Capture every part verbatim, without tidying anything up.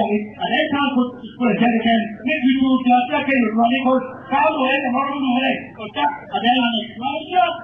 Italy, and I can't put, put a judge again. Make you do that, that kind of money, 'cause how do I ever know who I? 'Cause that, and then I make my job.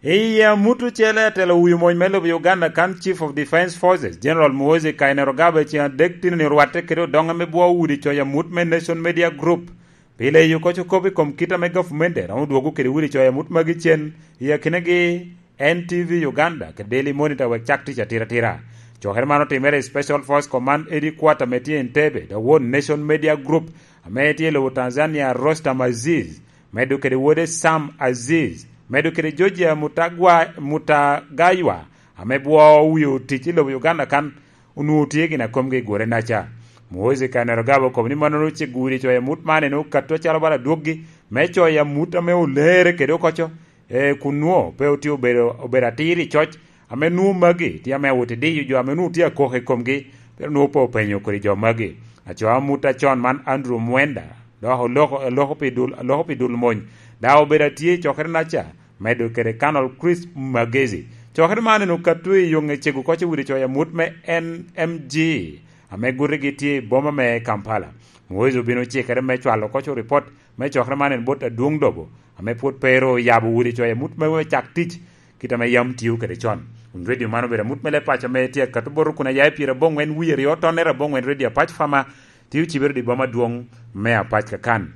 I amut ocele, atelo wi mony me lobo Uganda kan, Chief of Defence Forces, General Muhoozi Kainerugaba, ceŋ adek tino ni orwatte kede odoŋe me bwo udi coc amut me Nation Media Group. Pi leyo koc okop i kom kit ame gavumenti romo dwogo kede udi coc amut magi cen, i akinagi N T V Uganda kede Daily Monitor wek cak tic atira atira. Cokere man otimere i Special Force Command Headquarter ame tye Entebbe, dok won Nation Media Group ame tye i lobo Tanzania, Rostam Aziz, medo kede wode Sam Aziz, medo kede Georgia Mutagwa-, Mutagaywa, ame bwo wie otic i lobo Uganda kan, onwoŋo tye gin a komgi i gore naca. Muhoozi Kainerugaba okobo ni mannono ce gudi coc amut man en okatto acalo bala dwoggi me coc amut ame olere kede okoco, e, kun nwoŋo pe otye obedo, obedo atir i coc, ame nwoŋo magi tye ame awot i diyo jo ame nwoŋo tye akoko i komgi, pero nwoŋo pe openyo kodi jo magi. Aco amut acon man Andrew Mwenda, dok oloko, oloko pi dul, oloko pi dul mony, daŋ obedo atye i cokere naca, medo kede Colonel Chris Magezi. Cokere man en okatto i yoŋe cego koc i wi coc amut me N M G, ame gutigi tye i boma me Kampala. Muhoozi obino cikere me cwalo koc ripot me cokere man en bot adwoŋ lobo, ame pwod pe ru oyabo udi coc amut me cak tic, kit ame yam tio kede con. Kun redio man obedo amut me leb paco ame tye akato bot okuna ya i pyera aboŋwen wie aryo tonnere aboŋwen redio Apac Fama, tye ocibere i boma adwoŋ me Apac kakan.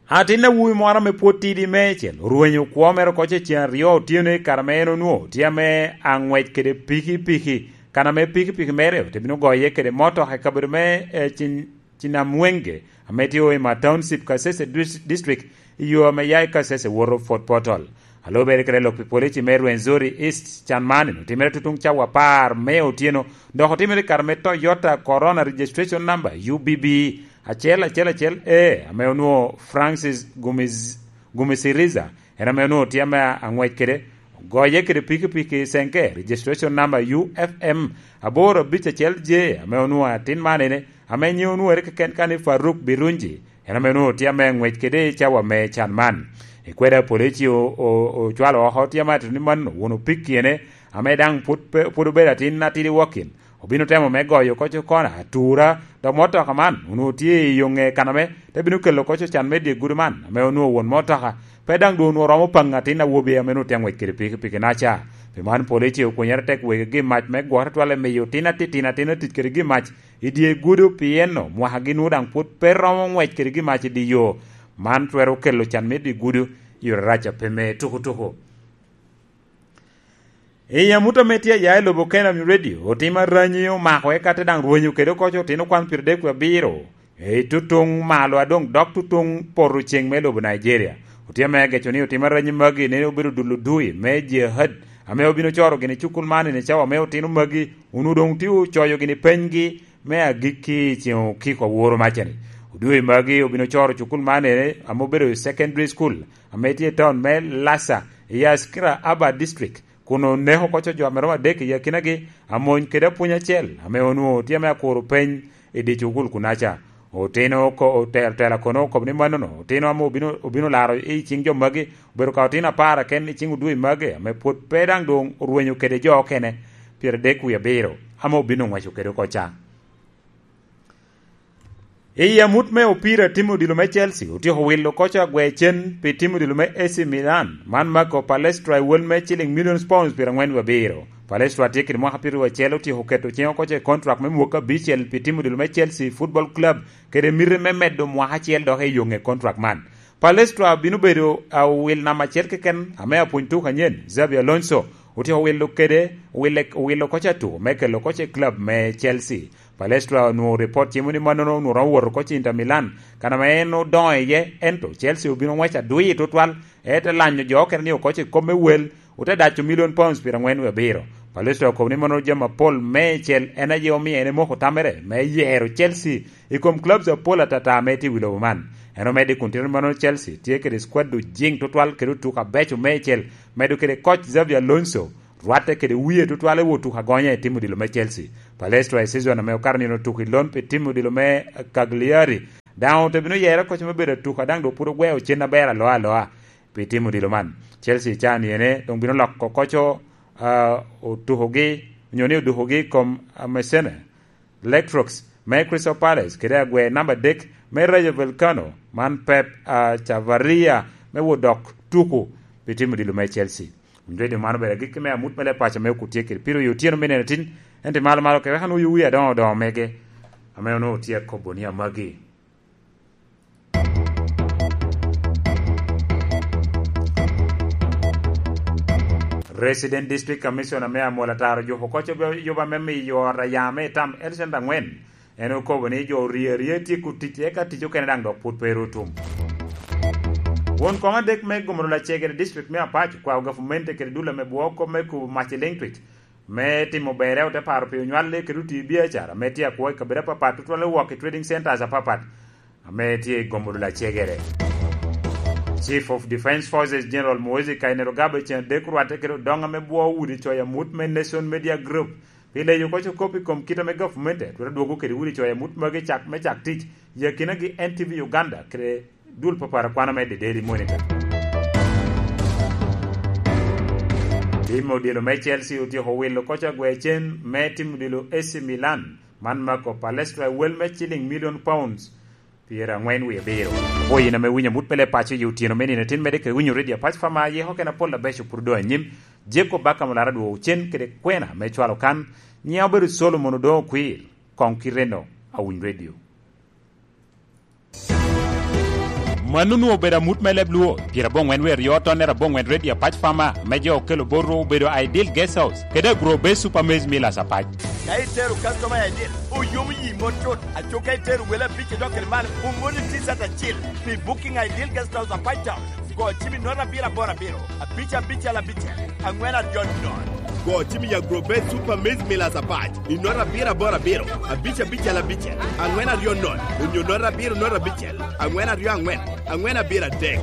Atin awobi moro ame pwod tidi meicel orwenyo kwo mere oko ce cen aryo otyeno i kare ame en onwoŋo tye ame aŋwec kede pikipiki, kan ame pikipiki mere te bino goye kede motoka i kabedo me, eh, Cin-, Cinamwenge, ame tye Hoima Township, Kasese Dis-, District, i yo ame ya i Kasese woto Fort Portal. A lubere kede lok pi polici me Rwenzori East, can man otimere tutuŋ cawa apar me otyeno, dok otimere i kare me Toyota Corona registration number U B B acel acel acel A, ame onwoŋo Francis Gumiz-, Gumisiriza, en ame onwoŋo tye ame aŋwec kede, goye kede pikipiki Senke, registration number U F M aboro abic acel J, ame onwoŋo atin man ene, ame nyiŋe onwoŋere keken kan ni Faruk Birunji, en ame onwoŋo tye ame aŋwec kede i cawa me can man. I kweda polici o-, o-, ocwalo oko tye ame atito ni man won opiki ene, ame daŋ pwod pe-, pwod obedo atin atidi wokin. Obino temo me goyo koc okona atura, dok motoka man onwoŋo tye i yo ŋe kaname, te bino kelo koc ocan me dye gudo man, ame onwoŋo won motoka pe daŋ doŋ onwoŋo romo paŋ atin awobi ame onwoŋo tye aŋwec kede pikipiki naca. Pi man, polici okwenyere tek wegi gin mac me gwokere twal i miyo tin atitino atin atic kede gin mac i dye gudo, pien mwakagi nwoŋo daŋ pwod pe romo ŋwec kede gin mac i dye yo. Man twero kelo can me dye gudo i yore rac a pe me tukutuku. I amut ame tye aya i lobo Kenam Radio, otim aranyi omako eka te daŋ rwenyo kede oko otino kwan pyeradek wie abiro i tutuŋ malo a doŋ dok tutuŋ poto ceŋ me lobo Nigeria. Otye ame ageco ni otim aranyi magi nene obedo dulo dui me jihad ame obino coro gini cukul man i cawa me otino magi, onwoŋo doŋ tye ocoyo gini penygi me agikki i ceŋ okiko aworo macani. Odui magi obino coro cukul man ene ame obedo i secondary school ame tye i taun me Lasa i Askira Abad District, kun oneko koco jo ame romo adek i akinagi, amony kede apwony acel ame onwoŋo tye ame akuro peny i dye cukul kunaca. Otino oko-, otelo tela kono okobo ni mannono, otino ame obino, obino laro i ciŋ jo magi, obedo ka otino apar aken i ciŋ odui magi, ame pwod pe daŋ doŋ orwenyo kede jo okene pyeradek wie abiro, ame obino ŋweco kede oko ca. I amut me opira, tim odilo me Chelsea otyeko wilo koco agwe cen pi tim odilo me A C Milan, man mako Palestra i wel me ciling million pounds pyerangwen wie abiro. Palestra tye kede mwaka pyeraryo acel, otyeko keto ciŋe oko i kontrak me mwaka abicel pi tim odilo me Chelsea Football Club, kede miti me medo mwaka acel dok i yo ŋe kontrak man. Palestra bino bedo, a, owil namba acel keken ame apwony tuk anyen, Xabi Alonso, otyeko wilo kede, owile-, owilo koc atu me kelo koc i club me Chelsea. Palestra onwoŋo ripot cimo ni mannono onwoŋo romo woto koc i Inter Milan, kan ame en odoŋo iye, ento Chelsea obino ŋwec adwir tutwal, ete lanyo jo okene ni okoc i kop me wel, ote daco million pounds pyerangwen wie abiro. Palestra okobo ni mannono jami apol meicel en aye omio en emoko tamere me yero Chelsea i kom clubs apol atata ame tye i wi lobo man. En omedde kun tito ni mannono Chelsea tye kede squad ojiŋ tutwal kede otuko abeco meicel, medo kede koc Xabi Alonso, rwatte kede wie tutwal i wot tuko agonya i tim odilo me Chelsea. Palestra i season ame okato nino otuko i lon pi tim odilo me Cagliari. Daŋ ote bino yere koc me bedo atuka, daŋ dok pwod ogweo cen aber aloa aloa pi tim odilo man. Chelsea can yene doŋ bino loko koco, ah, otukogi, onyo ni odukogi i kom, ah, Messene. Lectrox me Crystal Palace kede agwer namba adek me Rayo Vallecano, man Pep, ah, Chavarria me wot dok tuko pi tim odilo me Chelsea. Winy redio man obedo agikki me amut me leb paco me okut tye kede piro i otyeno me nino tin, ento i malo malo kede wek anwoyo wi adoŋo adoŋo mege ame onwoŋo tye akobo ni amagi. Resident District Commissioner me Amol Ataro Juko koc obe-, yuba me miyo ot aya me itam el cent angwen. En okobo ni jo orye arye tyeko tic, eka tic okene daŋ dok pwod pe ru otum. Won koŋ adek me Gomolo Lacegere District me Apac okwao gavumenti kede dul ame bwoo kop me kubo mac i Lengtwic me timo berre, ote paro pi onywal kede oti biacara ame tye akwo i kabedo apapat, tutwalle wok i trading centers apapat ame tye i Gomolo Lacegere. Chief of Defence Forces General Muhoozi Kainerugaba cen adek orwatte kede odoŋ ame bwoo udi coyo amut me Nation Media Group pi leyo koc okop i kom kit ame gavumenti twero dwogo kede udi coyo amut magi cak me cak tic i akinagi N T V Uganda kede dul papara kwano me The Daily Monitor. Tim odilo me Chelsea otyeko wilo koc agwer cen me tim odilo A C Milan, man mako Palestra wel me ciling million pounds pyerangwen wie abiro. Apwoyo in ame winyo amut me leb paco i otyeno me nino tin, medde kede winyo redio Apac Fama, yeko kena pol abeco pwod odoŋ anyim. Jacob Bakam Olara dwogo cen kede kwena me cwalo kan, nyiŋa obedo Solomon Odoŋo Okwir, koŋ kite-no awiny redio. Mano onwoŋo obedo amut me leb Luo, pyerabongwen wie aryo tonnere abongwen redio Apac Fama, me jo okelo botwu obedo Ideal Guest House, kede Agro Base Super Maize Millers Apac. Ka itero customer I D, oyomo yi mot cut. Aco ka itero wele abic idok kede malo, omoni T-shirt acil. Pi booking Ideal Guest House Apac Town, go cim i nota abiro aboro abiro, abic abicel abicel, angwen aryo nono. Go cim i Agro Base Super Maize Millers Apac i nota abiro aboro abiro, abic abicel abicel, angwen aryo nono, onyo nota abiro nota abicel, angwen aryo angwen, angwen abiro adek.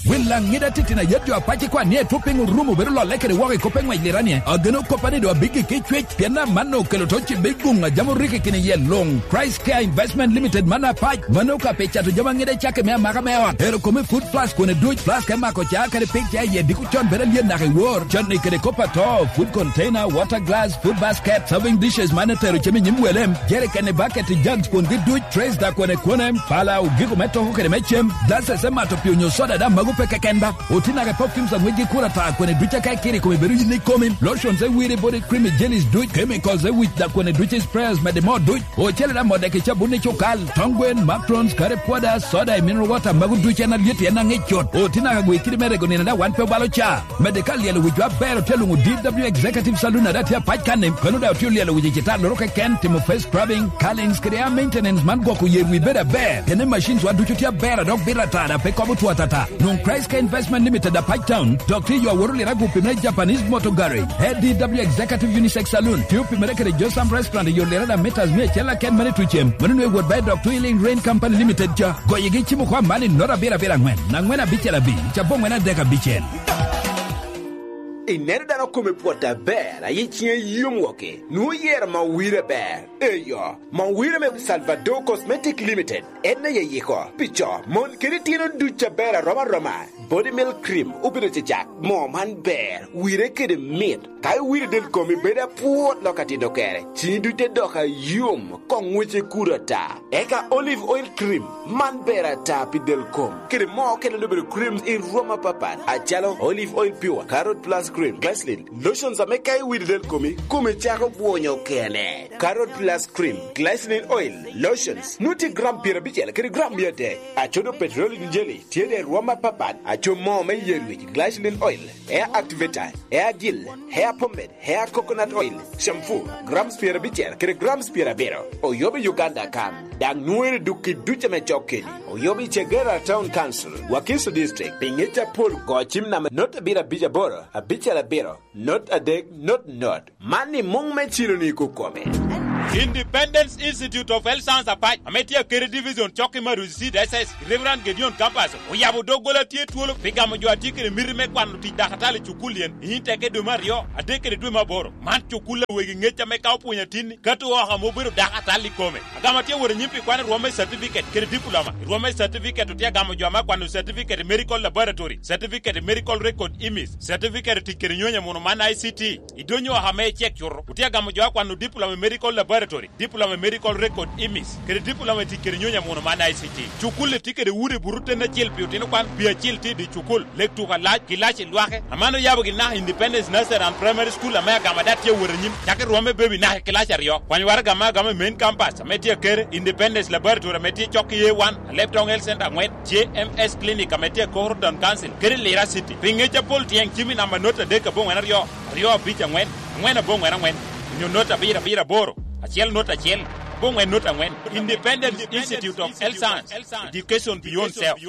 Wel aŋida titino a yat jo Apac ikwan ni etwop piny orumo bedo lolle kede woko i kop pe ŋwec lirani. Ageno koppa ni doŋ abiggi ki cwec, pien amanno okelo to cibe i guŋ a jam orikki kine iye luŋ. Christ Care Investment Limited man Apac, mano ka pe cato jami aŋida cakke me amaka me ot, tero kome food flask kone duc, flask me mako ca kede pik ca iye diko con bedo alyet naka i wor, canni kede kop ato, food container, water glass, food basket, serving dishes man etero cem i nyim wele, jerikeni, bucket, jugs kungi duc, trays da kone kone, pala, ogiko me toko kede me cem, glasses me mato pii onyo soda daŋ mago pe keken ba. Oti naka perfumes aŋwec gi kura ta kone duc aka ikiri kome bedo yin ikomi, lotions e wiri body cream jellies duc, chemicals e wic da kone duc sprays mede mo duc, ocele daŋ modeki cabun i cukal, tong gwen, macarons, curry powder, soda, mineral water mago duc en alyet en aŋic cut. Oti naka gwi kidi me rego nino daŋ wan pe obalo ca. Mede ka lyelo wicwa aber otye luŋo D W Executive Saloon a daŋ tye apac kanni, kano daŋ otye lyelo wic i citalloro keken, timo face scrubbing, curlings kede hair maintenance man gwoko yer wi bedo aber. Kene machines wa ducu tye aber a dok bito ata daŋ pe kobo two atata. Nwoŋ Christ Care Investment Limited apac town, dok tye i yo aworo lira gupi me Japanese Motor Garage. A D W Executive Unisex Saloon tye opimere kede Josam Restaurant i yo lira daŋ meters mia acel aken mene tucem. Mano nwe wot bayi dok Twilling Rain Company Limited ca. Goyigi cimo kwa man i nota abiro abiro angwen, angwen abicel abic, cabongwen adek abicel. Ineno dano kome pwot aber, ayi ciŋe yom woke, nwoŋo yero ma owire aber. Eyo, ma owire me Salvador Cosmetic Limited, en aye yiko, pi co, mon kede tino duc aber arom aroma. Body Milk Cream obedo cecak, moo man ber, wire kede mit. Ka iwire del komi bedo apwot lok atito kere, ciŋi duc te dok ayom, koŋ ŋwece kudo ata. Eka Olive Oil Cream, man ber ata pi del kom. Kede moo okene obedo creams i rwom apapat, acalo Olive Oil Pure, Carrot Plus Cream, Glycerin, lotions ame ka iwide del komi, kome cako bwonyo kene. Carrot Plus Cream, Glycerin Oil, lotions, nwoŋo tye gram pyerabicel kede gram mia adek. Acodo petroleum jelly, tye de rwom apapat, aco moo me yer wic, Glycerin Oil, hair activator, hair gel, hair pomade, hair coconut oil, shampoo, grams pyerabicel kede grams pyerabiro. Oyobo i Uganda kan, daŋ nwoŋere duk i duc ame cok keni. Oyobo i Chagera Town Council, Wakiso District, pi ŋec apol go cim namba not abiro abic aboro, abicel abiro, not adek, not not. Man i muŋ me cilo ni kukome. Independence Institute of Health Science Apac, ame tye Akere Division, cok i Maruzi Seed S S, Reverend Gedeon Campus, oyabo doggola tye twolo pi gamo jo a tye kede miti me kwano tic dakatali i cukulli en i Inteke dwe me aryo, adek kede dwe me aboro. Man cukul a wegi ŋec ame ka opwonyo atinni, ka to oko ame obedo dakatali i kome. Agamo atye wot anyim pi kwano rwom me certificate kede diploma. Rwom me certificate otye agamo jo ame akwano certificate i medical laboratory, certificate i medical record imis, certificate i tic kede nyonyo muno man I C T. I donyo oko ame icek cuto, otye agamo jo akwano diploma i medical laboratory, diploma i medical record imis, kede diploma i tic kede nyonyo muno man I C T. Cukulli tye kede udi buto ten acel pi otino kwan, pi acil tye i dye cukul, lek tuko alac, kilaci lwake. Aman oyabo gin naka Independence Nursery and Primary School ame agamo ada tye awot anyim, cako i rwom me baby naka i kilaci aryo. Kwany waraga ame agamo i main campus ame tye Akere, Independence Laboratory ame tye cok i A one, Alebtong Health Center angwen, J M S Clinic ame tye i Koro Town Council, kede Lira City. Pi ŋec apol tyeng cim i namba not adek aboŋwen aryo, aryo abic angwen, angwen aboŋwen angwen, onyo not abiro abiro aboro, acel not acel, aboŋwen not angwen. Independence Institute of Health Science, Education Beyond Self.